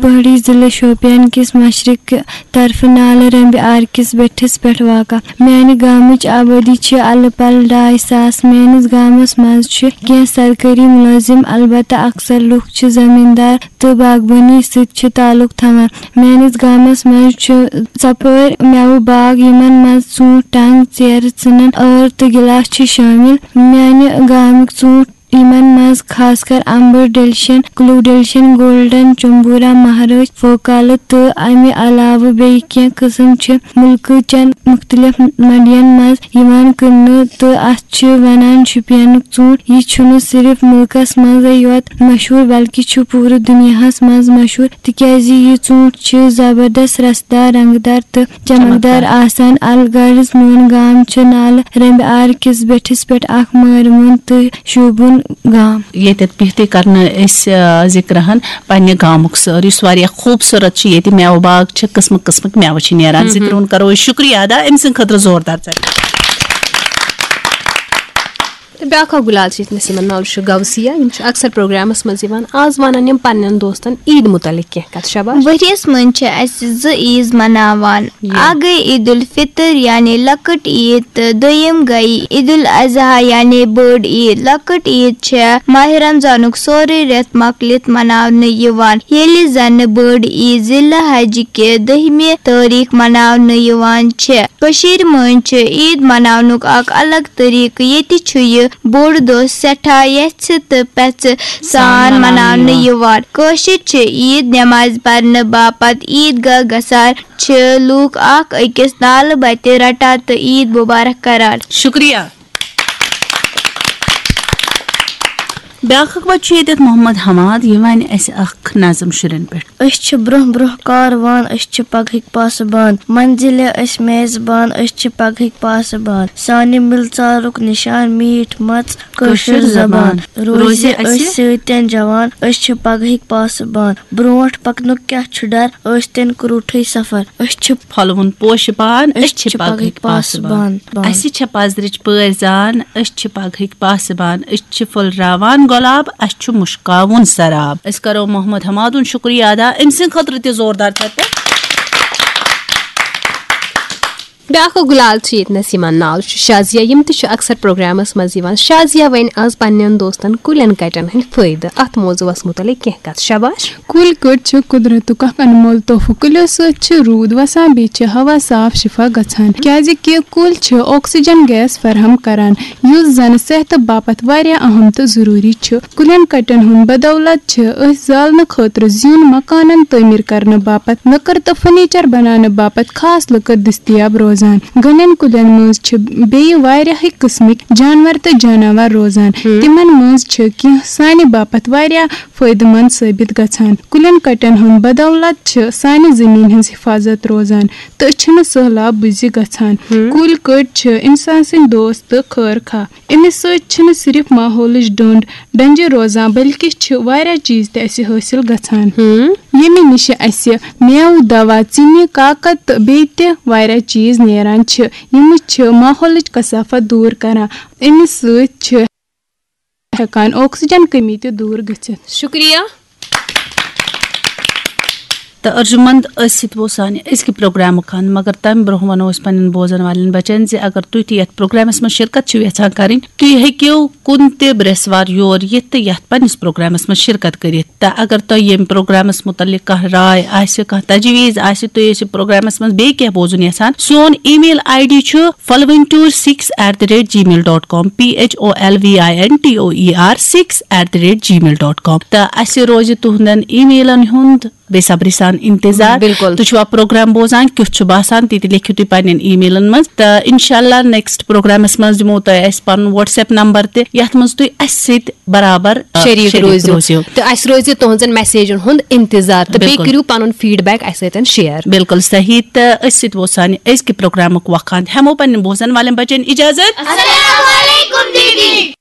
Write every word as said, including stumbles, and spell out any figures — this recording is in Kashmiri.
پہٲڑی ضلعہٕ شوپین کِس مشرق طرفہٕ نالہٕ رمبہِ آر کِس بٔٹھِس پٮ۪ٹھ واقع۔ میانہِ گامٕچ آبٲدی چھِ الہٕ پلہٕ ڈاے ساس۔ میٲنِس گامس منٛز چھِ کینٛہہ سرکٲری مُلٲزِم، البتہ اکثر لُکھ چھِ زٔمیٖندار تہٕ باغبٲنی سۭتۍ چھِ تعلق تھاوان۔ میٲنِس گامس منٛز چھِ ژۄپٲرۍ مٮ۪وٕ باغ، یِمن منٛز ژوٗنٛٹھۍ، ٹنگ، ژیرٕ، ژٕنن، ٲر تہٕ گلاس چھِ شٲمِل۔ میانہِ گامٕکۍ ژوٗنٛٹھۍ، یِمن منٛز خاص کر امبر ڈیلیشن، کلو ڈیلیشن، گولڈن، چمبورا، مہرٲج، فوکالہٕ تہٕ امہِ علاوٕ بیٚیہِ کینٛہہ قٕسم چھِ مُلکہٕ چٮ۪ن مُختٔلِف منڈین منٛز یِوان کٕننہٕ تہٕ اتھ چھِ ونان شُپینُک ژوٗنٛٹھ۔ یہِ چھُنہٕ صرف مُلکس منٛزٕے یوت مشہوٗر، بلکہِ چھُ پوٗرٕ دُنیاہس منٛز مشہوٗر، تِکیازِ یہِ ژوٗنٛٹھ چھُ زبردست، رسدار، رنگدار تہٕ چمکدار چمکدار۔ آسان۔ الغرض، میون گام چھُ نالہٕ رمبہِ آر کِس بٔٹھِس پٮ۪ٹھ اکھ مٲرِوُن تہٕ شوٗبوُن گام۔ ییٚتٮ۪تھ بِہتٕے کرنہٕ أسۍ، آ، ذِکرہن پننہِ گامُک سٲر، یُس واریاہ خوٗبصوٗرت چھُ۔ ییٚتہِ مٮ۪وٕ باغ چھِ، قٕسمہٕ قٕسمٕکۍ مٮ۪وٕ چھِ نیران۔ ذِکرِ ہُنٛد کرو أسۍ شُکریہ ادا أمۍ سٕنٛدِ خٲطرٕ زوردار ژٹہِ۔ تہٕ بیٛاکھ اکھ گُلال چھِ ییٚتہِ نسیٖمن ناو چھُ غوثیہ، یِم چھِ اکثر پروگرامس منٛز یِوان۔ آز ونن یِم پننٮ۪ن دوستن عیٖد مُتعلق کینٛہہ کتھ۔ شاباش۔ ؤریَس منٛز چھِ اَسہِ زٕ عیٖز مناوان۔ یہِ۔ اَکھ گٔے عیٖد الفطر یعنی لۄکٕٹ عیٖد تہٕ دوٚیِم گٔے عیٖد الاضحیٰ یعنی بٔڑ عیٖد۔ لۄکٕٹ عیٖد چھےٚ ماہِ رمضانُک سورُے رٮ۪تھ مۄکلِتھ مناونہٕ یِوان، ییٚلہِ زَنہٕ بٔڑ عیٖد ذی الحجہِ کہِ دٔہمہِ تٲریٖخ مناونہٕ یِوان چھےٚ۔ کٔشیٖرِ منٛز چھِ عیٖد مناونُک اکھ الگ طریٖقہٕ۔ ییٚتہِ چھُ یہِ بوٚڑ دۄہ سٮ۪ٹھاہ یژھِ تہٕ پژھِ سان سان مناونہٕ مناونہٕ یِوان۔ یِوان۔ کٲشِرۍ چھِ عیٖد نٮ۪مازِ پرنہٕ باپتھ عیٖد گاہ گژھان۔ چھِ لوٗکھ اکھ أکِس نالہٕ بتہِ رٹان تہٕ عیٖد مُبارک کران۔ شُکریہ۔ بیٛاکھ اکھ بچہٕ چھُ ییٚتٮ۪تھ محمد حماد، یہِ وَنہِ اَسہِ اکھ نظم شُرٮ۪ن پٮ۪ٹھ۔ أسۍ چھِ برٛونٛہہ برٛونٛہہ کاروان، أسۍ چھِ پگہٕکۍ پاسہٕ بان۔ منزلہِ أسۍ میزبان، أسۍ چھِ پگہٕکۍ پاسہٕ بان۔ سانہِ مِلژارُک نِشان میٖٹھ مژ، کٲشِر کٲشِر زبان۔ زبان۔ روزِ روزِ اَسہِ اَسہِ سۭتٮ۪ن جوان، أسۍ چھِ پگہٕکۍ پاسہٕ بان۔ برٛونٛٹھ پکنُک کیٛاہ چھُ ڈر، ٲسۍتن کرٛوٗٹھٕے سفر۔ أسۍ چھِ پھۄلوُن پوشہٕ پان، أسۍ أسۍ چھِ چھِ پگہٕکۍ پگہٕکۍ پاسہٕ پاسہٕ بان۔ بان۔ اَسہِ چھےٚ پزرٕچ پٲرۍ زان، أسۍ چھِ پگہٕکۍ پاسہٕ بان۔ أسۍ چھِ پھُلراوان گۄلاب، اَسہِ چھُ مُشکاوُن سراب۔ أسۍ کرو محمد حمادُن شُکریہ ادا، أمۍ سٕنٛدِ خٲطرٕ تہِ زوردار چپٹہٕ۔ بیٛاکھ اکھ گُلال چھِ ییٚتہِ نَس، یِمن ناو چھُ شازیہ، یِم تہِ چھِ اکثر پروگرامس منٛز یِوان۔ شازیہ وَنہِ آز پننٮ۪ن دوستن کُلٮ۪ن کٹٮ۪ن ہٕنٛدۍ فٲیدٕ، اتھ موضوعس مُتعلق کینٛہہ کتھ۔ شاباش۔ کُلۍ کٔٹۍ چھِ قدرتُک اکھ انمول تحفہٕ۔ کُلٮ۪و سۭتۍ چھِ روٗد وسان، بیٚیہِ چھِ ہوا صاف شفا گژھان، کیازِ کہِ کُلۍ چھِ آکسیجن گیس فراہم کران، یُس زن صحتہٕ باپتھ واریاہ اہم تہٕ ضروٗری چھُ۔ کُلٮ۪ن کٹٮ۪ن ہُنٛد بدولت چھِ أسۍ زالنہٕ خٲطرٕ زیُن، مکانن تعمیٖر کرنہٕ باپتھ لٔکٕر تہٕ فرنیچر بناونہٕ باپتھ خاص لٔکٕر دٔستیاب روزان۔ گنٮ۪ن کُلٮ۪ن منٛز چھِ بیٚیہِ واریاہٕے قٕسمٕکۍ جانور تہٕ جاناوار روزان۔ ہم۔ تِمن منٛز چھِ کینٛہہ سانہِ باپتھ واریاہ فٲیدٕ مند ثٲبت گژھان۔ کُلٮ۪ن کٹٮ۪ن ہُنٛد بدولت چھِ سانہِ زٔمیٖن ہٕنٛز حفاظت روزان تہٕ چھِنہٕ سٔہلاب بُزِ گژھان۔ ہم۔ کُلۍ کٔٹۍ چھِ انسان سٕنٛدۍ دوست تہٕ خٲر خواہ۔ أمِس سۭتۍ چھِنہٕ صرف ماحولٕچ ڈوٚنٛڈ ڈنجہِ روزان، بلکہِ چھِ واریاہ چیٖز تہِ اَسہِ حٲصِل گژھان، ہم۔ ییٚمہِ نِش اَسہِ مٮ۪وٕ، دوا، ژِنہِ، کاکد تہٕ بیٚیہِ تہِ واریاہ چیٖز نیران چھِ۔ یِم چھِ ماحولٕچ کثافت دوٗر کران۔ اَمہِ سۭتۍ چھِ ہٮ۪کان آکسیجن کمی تہِ دوٗر گٔژھِتھ۔ شُکریہ۔ تہٕ ارجُمنٛد، أتھۍ سۭتۍ ووت سانہِ أزکہِ پروگرامُک انٛد، مگر تَمہِ برٛونٛہہ وَنو أسۍ پنٛنٮ۪ن بوزن والٮ۪ن بچن زِ اگر تُہۍ تہِ یَتھ پروگرامس منٛز شرکت چھِو یژھان کرٕنۍ، تُہۍ ہیٚکِو کُنہِ تہِ برٛٮ۪سوار یور یِتھ تہٕ یَتھ پنٛنِس پروگرامس منٛز شرکت کٔرِتھ۔ تہٕ اگر تۄہہِ ییٚمہِ پروگرامس مُتعلِق کانٛہہ راے آسہِ، کانٛہہ تجویٖز آسہِ، تُہۍ ٲسِو پروگرامس منٛز بیٚیہِ کینٛہہ بوزُن یژھان، سون email ID چھُ پھلوِن ٹوٗر six eight the rate G mail dot com, P H O L V I N T O E R six at the rate gmail dot com۔ تہٕ اَسہِ روزِ تُہنٛدٮ۪ن emailن ہُنٛد بے صبری سان انتظار۔ بِلکُل۔ تُہۍ چھِوا پروگرام بوزان؟ کیُتھ چھُ باسان؟ تہِ تہِ لیکھِو تُہۍ پننٮ۪ن emailن منٛز۔ تہٕ انشاءاللہ next پروگرامس منٛز دِمو تۄہہِ أسۍ پنُن WhatsApp number تہِ، یتھ منٛز تُہۍ اَسہِ سۭتۍ برابر، آ، شریٖک شریٖک روٗزِو۔ روٗزِو۔ تہٕ اَسہِ روزِ تُہنٛزن messageن ہُنٛد انتظار۔ تہٕ بیٚیہِ بِلکُل۔ کٔرِو پنُن feedback اَسہِ سۭتۍ share۔ بِلکُل صحیح۔ تہٕ أسۍ سۭتۍ ووت سانہِ أزکہِ پروگرامُک وقت ہند۔ ہٮ۪مو پننٮ۪ن بوزن والٮ۪ن بچن اجازت۔ السلام علیکم دیدی۔